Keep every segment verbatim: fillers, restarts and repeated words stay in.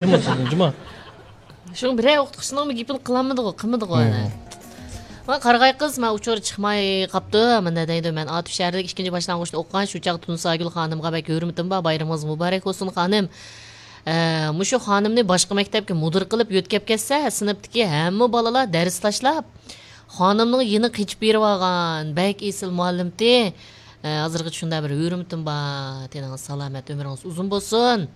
جۇمۇ، سىزدىن جۇمۇ. شۇڭا بىرەر ئوقۇتقۇچىنىڭمۇ گېپىنى قىلالمىدىغۇ، قىلمىدىغۇ ئەنە. مانا قارىغاي قىز، مانا ئۇچۇر چىقماي قاپتۇ، مۇنداق دەيدۇ، مەن ئاتۇش شەھىرىدىكى ئىككىنچى باشلانغۇچتا ئوقۇغان، شۇ چاغ تۇنساگۈل خانىمغا بەك ھۆرمىتىم بار، بايرىمىڭىز مۇبارەك بولسۇن خانىم. ئە، مۇشۇ خانىمنى باشقا مەكتەپكە مۇدىر قىلىپ يۆتكەپ كەتسە، سىنىپتىكى ھەممە بالىلار دەرس تاشلاپ، خانىمنىڭ يېنىغا قېچىپ بېرىۋالغان، بەك ئېسىل مۇئەللىمتى. ئە، ھازىرغىچە شۇنداق بىر ھۆرمىتىم بار، تېنىڭىز سالامەت، ئۆمرىڭىز ئۇزۇن بولسۇن.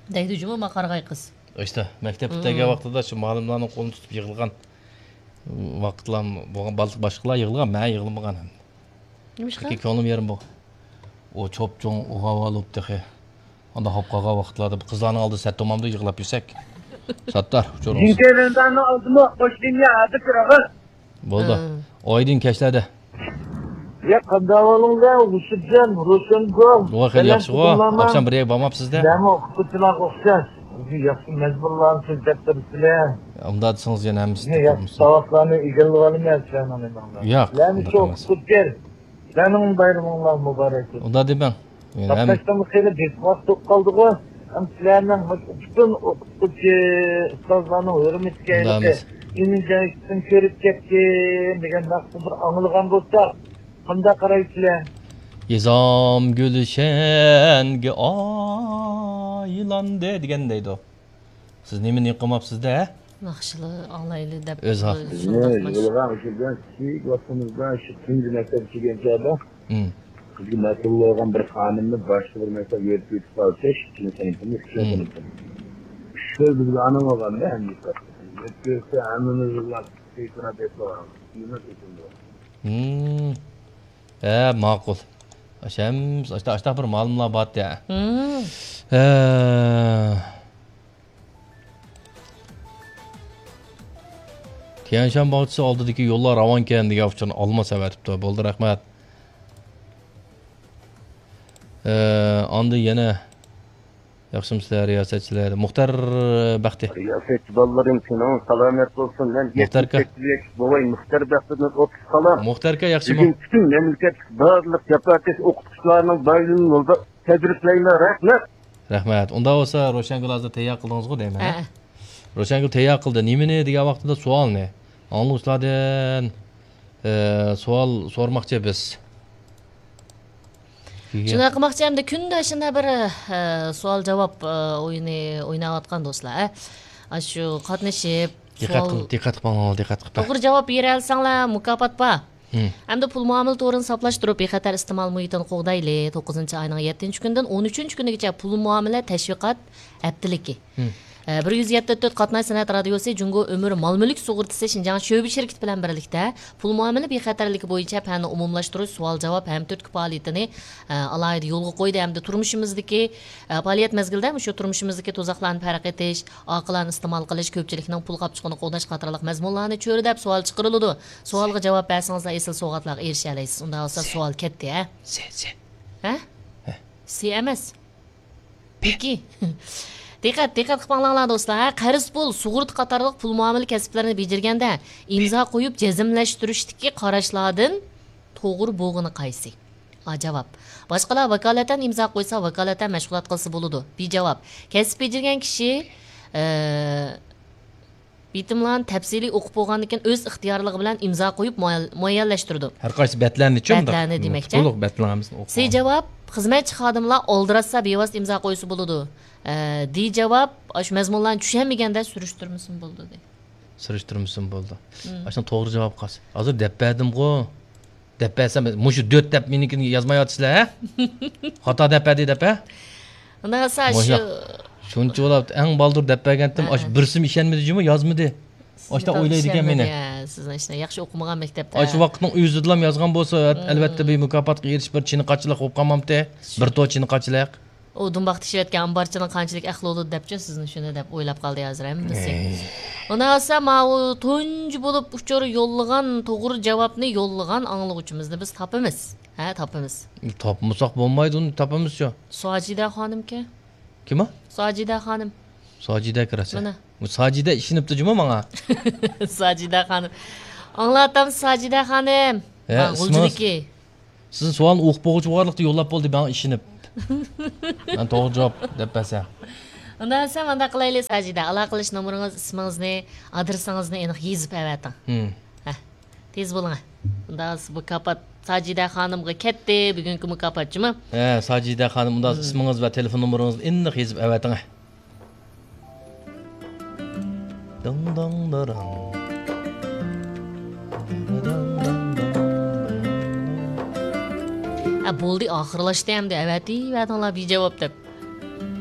دەيدۇ جۇمۇ ما قارىغاي قىز. ئىشتە، مەكتەپكە كەلگەن ۋاقتىدا شۇ مۇئەللىملارنىڭ قولىنى تۇتۇپ يىغلىغان ۋاقىتلار بولغان، بال-، باشقىلار يىغلىغان، مەن يىغلىمىغان ھەم. نېمىشقا؟ چۈنكى كۆڭلۈم يېرىم بولغان. ئۇ چوپچوڭ، ئۇ ھاۋالۇپ تېخى. ئاندا خوپ قالغان ۋاقىتلاردا قىزلارنىڭ ئالدىدا سەت تومامدا يىغلاپ يۈرسەك. ساتتار، ئۇچۇرىڭىز. جىنكەيلەنداننىڭ ئالدىمۇ قوشلىنىيە ھازىر تۇرىغىز. بولدى. ئايدىن كەچلەردە. يا، قانداق ئەھۋالىڭلار، ھۇسۇپجان، روشەنگۈل؟ ۋاي، خېلى ياخشىغۇ. ئاخشام بىر يەرگە بارماپسىز-دە؟ مەنمۇ ئوقۇتقۇچىلارغا ئوخشاش. ياخشى مەزمۇنلارنى سۆزلەپ تۇرۇپسىلەر. ئۇنداق دېسىڭىز يەنە ھەممىسى ياخشى ساۋابلارنى ئىگىلىۋالىمەن سىلەرنىڭ نېمىڭلار. ياق، سىلەرنى شۇ ئوقۇتقۇچى. سىلەرنىڭ بايرىمىڭلار مۇبارەك بولسۇن. ئۇنداق دېمەڭ. قاتناشتىمۇ خېلى بىخاس بولۇپ قالدىغۇ. ھەم سىلەرنىڭ مۇشۇ پۈتۈن ئوقۇتقۇچى، ئۇستازلارنىڭ ھۆرمىتىگە ھېلىقى ئىمىن جايىسىدىن كۆرۈپ كەتتىم دېگەن ناخشىنى بىر ئاڭلىغان بولساق، قانداق قارايسىلەر؟ يېزام گۈلشەنگە ئايلاندى دېگەن دەيدۇ. سىز نېمىنى قىلماپسىز-دە؟ ناخشىلا ئاڭلايلى دەپ ئۆز ھەق. بىزنى يىغىلغان شۇ بىلەن كىچىك ۋاقتىمىزدا شۇ تۇنجى مەكتەپكە كىرگەن چاغدا، مم، بىزگە مەسئۇل بولغان بىر خانىمنى باشقا بىر مەكتەپكە يۆتكىۋېتىپ قالسا، ئىككىنچى سىنىپنى، ئۈچىنچى سىنىپنى. ئۈچ خىل بىزگە ئانام بولغان-دە، ھەممە يۆتكەۋەتسە، ھەممىمىز يىغلاپ، سېيىترا دەپ قويغان. مم. ھە، ماقۇل. ئاشەمس، ئاشتا، ئاشتا بىر مالىملار بارتى. مم. ھە. تيەنشان باغچىسى ئالدىدىكى يوللار راۋانكەن دېگەن ئۇچۇرنى ئالماس ئەۋەتىپتۇ. بولدى، رەھمەت. ئە، ئاندىن يەنە ياخشىمۇسىلەر، رىياسەتچىلەر؟ مۇختەر بەختى. رىياسەتچى بالىلىرىم، تېنىڭىز سالامەت بولسۇن. مەن مۇختەر ئاكا. يەتمىش سەككىز ياشلىق بوۋاي مۇختەر بەختىدىن ئوتتۇز قالام. مۇختەر ئاكا، ياخشىمۇ؟ بۈگۈن پۈتۈن مەملىكەتلىك بارلىق جاپاكەش ئوقۇتقۇچىلارنىڭ بايرىمىنى يولدا تەبرىكلەيمەن. رەھمەت. رەھمەت. ئۇنداق بولسا، روشەنگۈل ھازىر تەييار قىلدىڭىزغۇ دەيمەن، ھە؟ ھە. روشەنگۈل تەييار قىلدى. نېمىنى دېگەن ۋاقتىدا سوئالنى. ئاڭلىغۇچىلاردىن، ئە، سوئال سورىماقچى بىز. شۇنداق قىلماقچى، ئەمدى كۈندە شۇنداق بىر، ئە، سوئال جاۋاب، ئە، ئويۇنى ئويناۋاتقان دوستلار، ئە. ئاشۇ قاتنىشىپ، دىققەت سوئال قىل-، دىققەت قىلىپ ئاڭلاڭلار، دىققەت قىلىپ. توغرا جاۋاب بېرەلىسەڭلار، مۇكاپات بار. مم. ئەمدى پۇل مۇئامىلە تورىنى ساپلاشتۇرۇپ، بىخەتەر ئىستېمال مۇھىتىنى قوغدايلى. توققۇزىنچى ئاينىڭ يەتتىنچى كۈنىدىن ئون ئۈچىنچى كۈنىگىچە پۇل مۇئامىلە تەشۋىقات ھەپتىلىكى. مم. ئە، بىر يۈز يەتتە تۆت قاتناش سەنئەت رادىيوسى جۇڭگو ئۆمۈر مال مۈلۈك سۇغۇرتىسى شىنجاڭ شۆبە شىركىتى بىلەن بىرلىكتە پۇل مۇئامىلە بىخەتەرلىكى بويىچە پەننى ئومۇملاشتۇرۇش، سوئال جاۋاب ھەم تۈرتكە پائالىيىتىنى، ئە، ئالاھىدە يولغا قويدى ھەمدە تۇرمۇشىمىزدىكى، ئە، پائالىيەت مەزگىلىدە مۇشۇ تۇرمۇشىمىزدىكى تۇزاقلارنى پەرق ئېتىش، ئاقىلانە ئىستېمال قىلىش، كۆپچىلىكنىڭ پۇل قاپچۇقىنى قوغداش قاتارلىق مەزمۇنلارنى چۆرىدەپ سوئال چىقىرىلىدۇ. سوئالغا جاۋاب بەرسىڭىزلا ئېسىل سوۋغاتلارغا ئېرىشەلەيسىز. ئۇنداق بولسا سوئال كەتتى، ھە؟ سى، سى. ھە؟ ھە. سى ئەمەس. پېكى. دىققەت، دىققەت قىلىپ ئاڭلاڭلار دوستلار. ھە، قەرز پۇل، سۇغۇرتا قاتارلىق پۇل مۇئامىلە كەسىپلىرىنى بېجىرگەندە ئىمزا قويۇپ جەزملەشتۈرۈشتىكى قاراشلاردىن توغرا بولغىنى قايسى؟ ئا، جاۋاب. باشقىلار ۋاكالىتەن ئىمزا قويسا، ۋاكالىتەن مەشغۇلات قىلسا بولىدۇ. بى جاۋاب. كەسىپ بېجىرگەن كىشى، ئە، بېيىتىملارنى تەپسىلىي ئوقۇپ بولغاندىن كېيىن ئۆز ئىختىيارلىقى بىلەن ئىمزا قويۇپ مۇئەييەن-، مۇئەييەنلەشتۈرىدۇ. ھەر قايسى بەتلەرنىچۇ؟ بەتلەرنى دېمەكچى. تولۇق بەتلەرنى ئوقۇپ سى جاۋاب، خىزمەتچى خادىملار ئالدىراتسا بىۋاسىتە ئىمزا قويسا بولىدۇ. ئە، دى جاۋاب، ئاشۇ مەزمۇنلارنى چۈشەنمىگەندە سۈرۈشتۈرمىسىمۇ بولىدۇ دەيدۇ. سۈرۈشتۈرمىسىمۇ بولىدۇ. مم. ئاشۇنىڭ توغرا جاۋابى قايسى؟ ھازىر دەپ بەردىمغۇ. دەپ بەرسەم، مۇشۇ دۆت دەپ مېنىڭكىنى يازمايۋاتىسىلەر، ھە؟ خاتا دەپ بەردى دەپ، ھە؟ ئۇنداق بولسا شۇ شۇنچە بولاپ، ئەڭ بالدۇر دەپ بەرگەنتىم، ھە، ئاشۇ بىرسىمۇ ئىشەنمىدى جۇمۇ، يازمىدى. ئاشتا ئويلايدىكەن مېنى. سىزنى ئاشۇ ياخشى ئوقۇمىغان مەكتەپتە. ئاشۇ ۋاقىتنىڭ ئۆزىدىلا يازغان بولسا، ئەلۋەتتە بىر مۇكاپاتقا ئېرىشىپ، بىر چىنە قاچىلىق بولۇپ قالمامتى؟ بىر تور چىنە قاچىلىق. ئۇ دۇمباق تېشىۋەتكەن ئامبارچىنىڭ قانچىلىك ئەقلى بولىدۇ دەپچۇ سىزنى شۇنى دەپ ئويلاپ قالدى ھازىر ھەممىسى. ئۇنداق بولسا ماۋۇ تۇنجى بولۇپ ئۇچۇر يوللىغان، توغرا جاۋابنى يوللىغان ئاڭلىغۇچىمىزنى بىز تاپىمىز. ھە، تاپىمىز. تاپمىساق بولمايدۇ، ئۇنى تاپىمىزچۇ. ساجىدە خانىمكەن. كىم ئۇ؟ ساجىدە خانىم. ساجىدە كىرەسە. مانا. بۇ ساجىدە ئىشىنىپتۇ جۇمۇ ماڭا. ساجىدە خانىم. ئاڭلاۋاتامسىز ساجىدە خانىم؟ ھە، غۇلجىدىكى. سىزنىڭ سوئالنى ئوقۇپ بولغۇچە بارلىقتا يوللاپ بولدى، ماڭا ئىشىنىپ. مەن توغرا جاۋاب دەپ بەرسەم. ئۇنداق دېسە مۇنداق قىلايلى، ساجىدە، ئالاقىلىشىش نومۇرىڭىز، ئىسمىڭىزنى، ئادرېسىڭىزنى ئېنىق يېزىپ ئەۋەتىڭ. ھە، تېز بولۇڭ. ئۇنداق بولسا بۇ كاپات ساجىدە خانىمغا كەتتى، بۈگۈنكى مۇكاپات جۇمۇ. ھە، ساجىدە خانىم، ئۇنداق ئىسمىڭىز ۋە تېلېفون نومۇرىڭىزنى ئېنىق يېزىپ ئەۋەتىڭ. دىڭ داڭ داراڭ. ئە، بولدى، ئاخىرلاشتى ئەمدى، ئەۋەتىۋەتىڭلار بىجاۋاب دەپ.